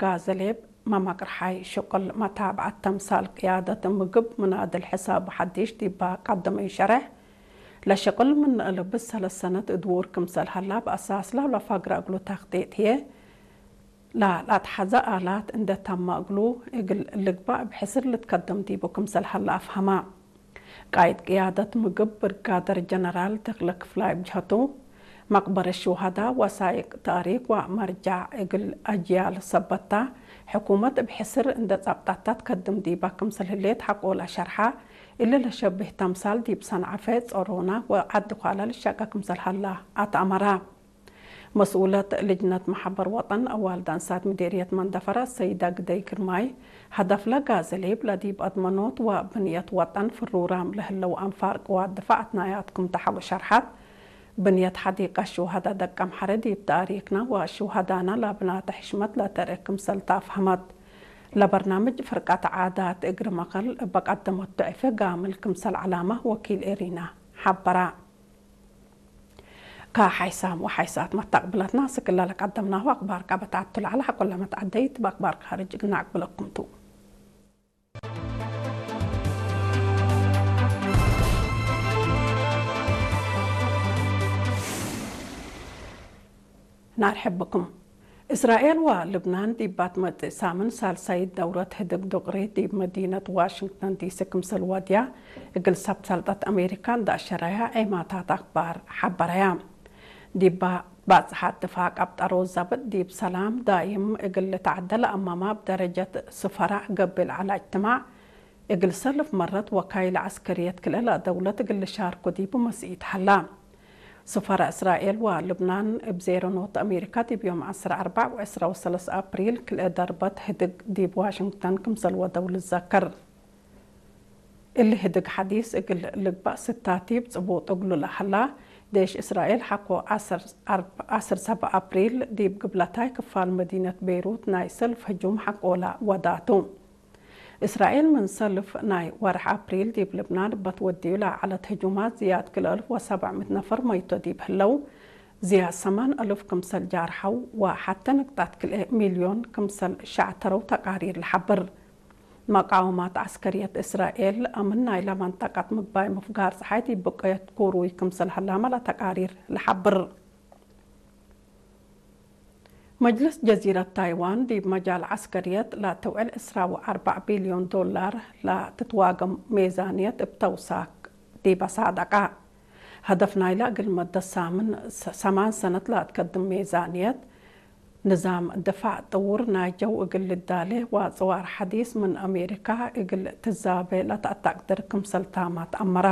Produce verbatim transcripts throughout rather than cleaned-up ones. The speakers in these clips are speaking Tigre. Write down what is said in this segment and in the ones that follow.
ጋዘሌብ መመቅርሓይ ሽቅል መታብዐት ተምሳል ቅያደት ምግብ ምናድል ሕሳብ ሐዲሽ ዲባ ቀደመዩ ሸሬሕ፣ ለሽቅል ምን እልብ ሰለስ ሰነት እድውር ክምሰል ሀላ በአሳስ ለፈግረ እግሉ ተክጢጥ ህዬ፣ ለለአትሐዘ አላት እንዴ ተመ እግሉ እግል ልግባእ እብ ሕስር ልትከደም ዲቡ ክምሰል ሀለ አፍሀመ። ቃይድ ቅያደት ምግብ ብርጋደር ጀነራል ተክለ ክፍላይ እብ ጀሀቱ፣ መቅበረት ሹሀዳ፣ ወሳይቅ ተእሪክ ወመርጃዕ እግል አጅያል ሰበታ፣ ሕኩመት እብ ሕስር እንዴ ጸብጠተ ትከድም ዲባ ክምሰል ህሌት ሐቆለ ሸርሐ። እሊ ለሸብህ ተምሳል ዲብ ሰንዐፈ፣ ጸሮና ወዐዲ ኳላ ልሸቀ ክምሰል ሀላ አትአመረ። መስኡለት ልጅነት መሐበር ወጠን አዋልድ አንሳት ምዴርየት መንደፈራ ሰይዳ ግደይ ግርማይ፣ ሀደፍለ ጋዘሌብ ለዲብ አድመኖት ወብንየት ወጠን ፍሩራም ለህለው አንፋር ቅዋት ድፋዕ አትናያት ክም ተሐቡ ሸርሐት። ብንየት ሐዲቀት ሹሀዳ ደቀምሐረ ዲብ ተእሪክነ ወሹሀዳነ ለብናተ ሕሽመት ለተርክ ክምሰል ተአፍሀመት። ለበርናምጅ ፍርቀት ዓዳት እግር መከል እበ ቀደመቱ ዕፌ ጋምል ክምሰል ዐላመ ወኪል ኤሪና ሐበረ። ከሐይሳም ወሐይሳት መተቅብለትና፣ ስክለ ለቀደምናሁ አክባር ቀበት አቱ ለዐለ ሐቆለ መትዐደይት፣ በአክባር ካርጅ እግል ነአቅብለኩም ቱ። ናርሐብኩም። እስራኤል ወልብናን ዲብ ባትመጽእ ሳምን ሳልሳይት ደውረት ህድግ ዱቅሪ ዲብ መዲነት ዋሽንግተን ዲሲ ክምሰል ወድያ፣ እግል ሰብ ሰልጠት አሜሪካ እንደ አሸረያ ዔማታት አክባር ሐበረያ። ዲብ ባጽሓት ድፋቅ አብጠሮ ዘብጥ ዲብ ሰላም ዳይም እግል ልትዐደ ለአማማ እብ ደረጀት ስፈራዕ ገብእ ለዐለ እጅትማዕ፣ እግል ሰልፍ መረት ወካይል ዐስከርየት ክልኤ ለአደውለት እግል ልሻርኩ ዲቡ መስኢት ሀላ። ስፈራ እስራኤል ወልብናን እብ ዜሮ ኖት አሜሪካ ዲብ ዮም ዐስር አርበዕ ወዕስራ ወሰለስ አፕሪል ክልኤ ደርበት ህድግ ዲብ ዋሽንግተን ክምሰል ወደው ልዘከር። እሊ ህድግ ሐዲስ እግል ልግባእ ስታቲብ ጽቡጥ እግሉ ለሀላ፣ ዴሽ እስራኤል ሐቆ ዐስር አርብ-፣ ዐስር ሰብዕ አፕሪል ዲብ ግብለታይ ክፋል መዲነት ቤይሩት ናይ ሰልፍ ህጁም ሐቆለ ወዳቱ። እስራኤል ምን ሰልፍ ናይ ወርሕ አፕሪል ዲብ ልብናን እበ ትወድዩ ለዐለት ህጁማት ዝያድ ክልኤ አልፍ ወሰብዕ ምእት ነፈር መይቶ ዲብ ህለው፣ ዝያድ ሰማን አልፍ ክምሰል ጃርሐው ወሐቴ ንቅጣት ክልኤ ሚልዮን ክምሰል ሸዕተረው ተቃሪር ለሐብር። መቃወማት ዐስከርየት እስራኤል አምን ናይለ መንጠቀት ምግባይ ምፍጋር ጸሓይ ዲብ ብቀየት ኩሩይ ክምሰል ሀላመ ለተቃሪር ለሐብር። መጅልስ ጀዚረት ታይዋን ዲብ መጃል ዐስከርየት ለትውዕል ዕስራ ወአርበዕ ቢልዮን ዶላር ለትትዋገም ሜዛንየት እብ ተውሳክ ዲበ ሳደቀ። ሀደፍ ናይለ እግል መደት ሳምን ሰ-፣ ሰማን ሰነት ለአትከድም ሜዛንየት፣ ንዛም ድፋዕ ጥውር ናይ ጀው እግል ልዳሌ ወአጽዋር ሐዲስ ምን አሜሪካ እግል ትዛቤ ለተአተቅድር ክምሰል ታማት አመረ።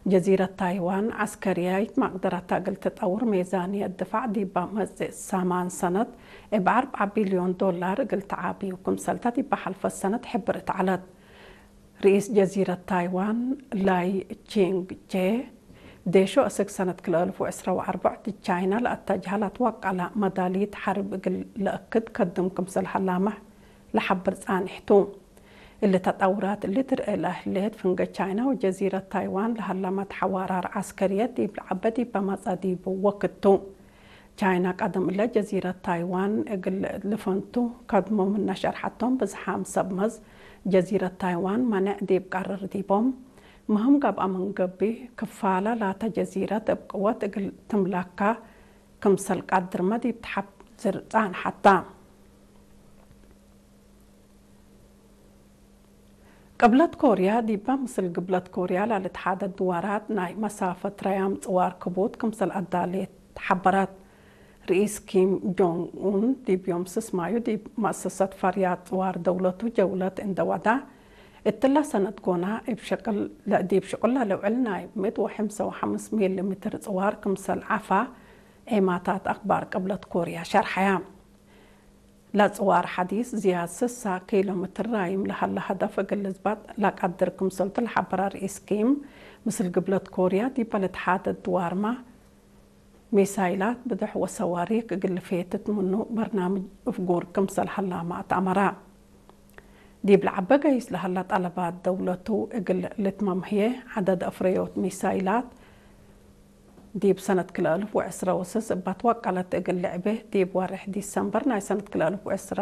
ጀዚረት ታይዋን ዐስከርያይት መቅደረታ እግል ትጠውር ሜዛንየት ድፋዕ ዲበ መጽእ ሰማን ሰነት እብ አርበዕ ቢልዮን ዶላር እግል ተዓብዩ ክምሰልተ ዲበ ሐልፈት ሰነት ሕብርት ዐለት። ርኢስ ጀዚረት ታይዋን ላይ ቺንግ ቼ፣ ዴሾ እስክ ሰነት ክልኤ አልፍ ወዕስራ ወአርበዕ ዲብ ቻይና ለአተጅሀ ለትወቀለ መዳሊት ሐርብ እግል ለአክድ ከድም ክምሰል ሀላመ ለሐብር ጻንሕ ቱ። እሊ ተጠውራት እሊ ትርኤ ለህሌት፣ ፍንጌ ቻይና ወጀዚረት ታይዋን ለሀለመት ሐዋራር ዐስከርየት ዲብ ለዐበ ዲብ በመጽአ ዲቡ ወክድ ቱ። ቻይና ቀደም እለ ጀዚረት ታይዋን እግል ልፈንቱ ከድሞ ምነ ሸርሐቶም፣ ብዝሓም ሰብ መዝ ጀዚረት ታይዋን መኔዕ ዲብ ቀርር ዲቦም። ምህም ገብአ ምን ገብእ፣ ክፋለ ላተ ጀዚረት እብ ቅወት እግል ትምለካ ክምሰል ቀድርመ ዲብ ተሐዝር ጻንሐታ። ቅብለት ኮርያ ዲበ ምስል ግብለት ኮርያ ለልትሓደድ ድዋራት ናይ መሳፈት ረያም ጽዋር ክቡድ ክምሰል አዳሌት ሐበረት። ርኢስ ኪም ጆንግ ኡን ዲብ ዮም ስስ ማዩ ዲብ መአሰሰት ፈርያት ጽዋር ደውለቱ ጀውለት እንደ ወዳ፣ እትለ ሰነት ጎና እብ ሸቅል፣ ዲብ ሽቅል ለልውዕል ናይ ምእት ወሐምሳ ወሐምስ ሚሊ ሜትር ጽዋር ክምሰል ዐፋ ዔማታት አክባር ቅብለት ኮርያ ሸርሐያ። ለጽዋር ሐዲስ ዝያድ ስሳ ኪሎ ሜትር ራይም ለሀለ ሀደፍ እግል ልዝበጥ ለቀድር ክምሰልቱ ለሐበረ ርኢስ ኪም፣ ምስል ግብለት ኮርያ ዲበ ልትሓደድ ድዋርመ ሚሳይላት፣ ብዱሕ ወሰዋሪክ እግል ልፌትት ምኑ በርናምጅ እፍጉር ክምሰል ሀላመ አትአመረ። ዲብ ለዐበ ገይስ ለሀለ ጠለባት ደውለቱ እግል ልትመም ህዬ፣ ዐደድ አፍረዮት ሚሳይላት፣ ዲብ ሰነት ክልኤ አልፍ ወዕስራ ወስስ እበ ትወቀለት እግል ልዕቤ፣ ዲብ ወሬሕ ዲሰምበር ናይ ሰነት ክልኤ አልፍ ወዕስራ